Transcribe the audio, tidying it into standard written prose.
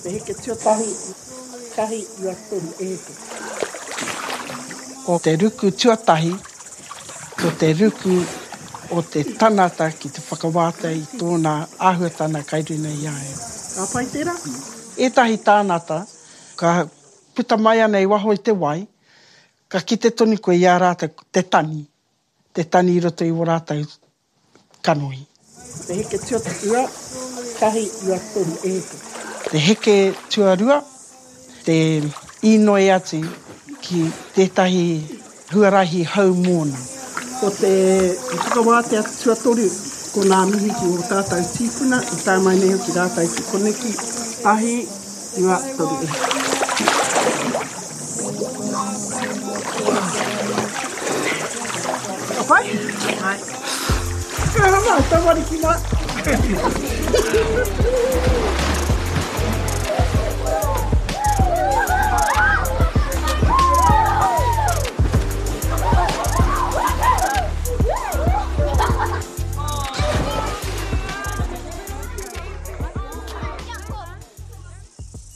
Te heke tuatahi, tahi, 93, e heke. Ko te ruku tuatahi, ko te ruku o te tangata ki te whakawātea i tōna āhuatanga kai runa i a ia. Ka pai tērā? Ētahi tāngata, ka puta mai ana i waho i te wai, ka kite tonu koe i a rātou te tani, te tani i roto i wō rātou kanohi. Te heke tuarua, tahi, 93, e heke. Te heke tuarua, te inoi atu ki tētahi huarahi hou mōna. Ko te whakawātea tuatoru, ko ngā mihi ki ō tātou tīpuna i tae mai nei hoki rātou ki koneki, tahi, 23, e heke. Ka pai? Pai. Ka hanga, tamariki mā.